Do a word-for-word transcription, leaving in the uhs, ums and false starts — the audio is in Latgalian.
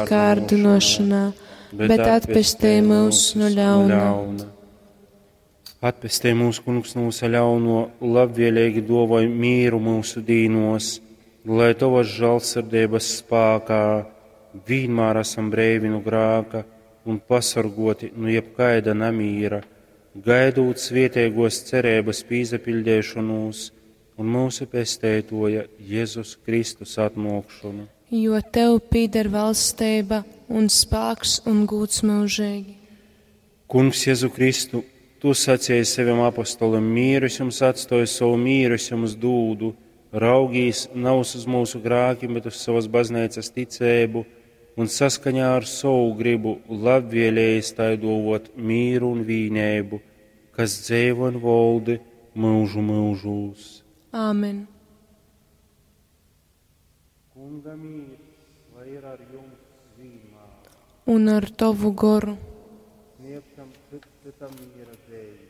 Kārdynōšanā, bet atpestej myus nu ļauna. Atpestej mūs, Kungs, nu vysa ļauno, labvēlīgi duovoj mīru myusu dīnos, lai Tovas žālsirdeibas spākā vīnmār esam breivi nu grāka un pasorgoti nu jebkaida namīra, gaidūt svietēgos cerības pīsapiļdeišonūs un mūsu Pesteitoja Jezus Kristus atnōkšonu. Jo Tev pīder valstība un spāks un gūds mūžīgi. Kungs Jezu Kristu, Tu sacīji saviem apostolim, mīru es jums atstoju, savu mīru es jums dūdu, raugīs nav uz mūsu grākiem, bet uz savas baznīcas ticēbu un saskaņā ar savu gribu labvēlējis tai dovot mīru un vīnēbu, kas dzeivo un voldi mūžu mūžūs. Āmen. Kunga mīrs, lai ir ar jums vienmēr. Un ar Tavu goru. Sniegtam citam miera zeimi.